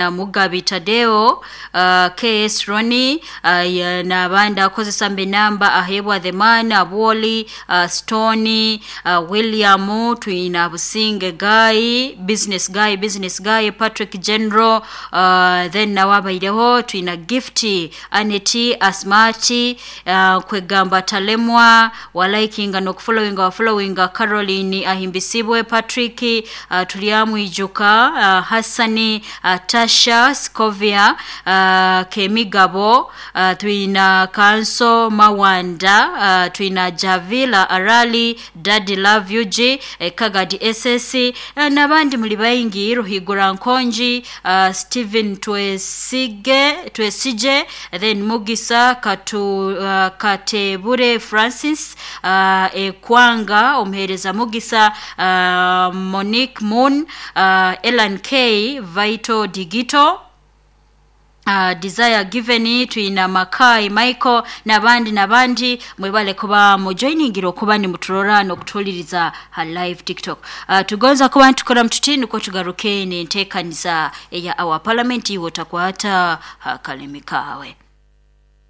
Mugabi Tadeo, KS Roni, n'abandi akozesa mbe namba Ahebwa The Man, Abwoli, Stone, William, twina Businge Guy, Business Guy, Business Guy, Patrick General, then nawe abaireho twina Gift, Aneti, Asmati, kwegamba Talemwa, walikinga n'okufollowinga wafollowinga Caroline Ahimbisibwe, Patrick, Tulyamwijuka, Hassani, Tasha, Scovia, Kemigabo, twina Kanso Mawanda, twina Javila Arali, Daddy Love UG, Kagadi SS, n'abandi muli baingi Ruhigura Nkonji, Stephen Twesige, Twesije, then Mugisa Katu, Katebure Francis, Ekwanga omuheereza Mugisa, Monique Moon, Elan K, Vital Digito, Desire Given, twina Makai Michael n'abandi n'abandi. Mwebale kuba mujoiningira okuba nimuturora n'okutuliriza ha live TikTok. Tugonza kuba ntukora mututi nukwo tugaruke n'enteekaniza eya our parliament, iwe otakwata ha kalimi kaawe.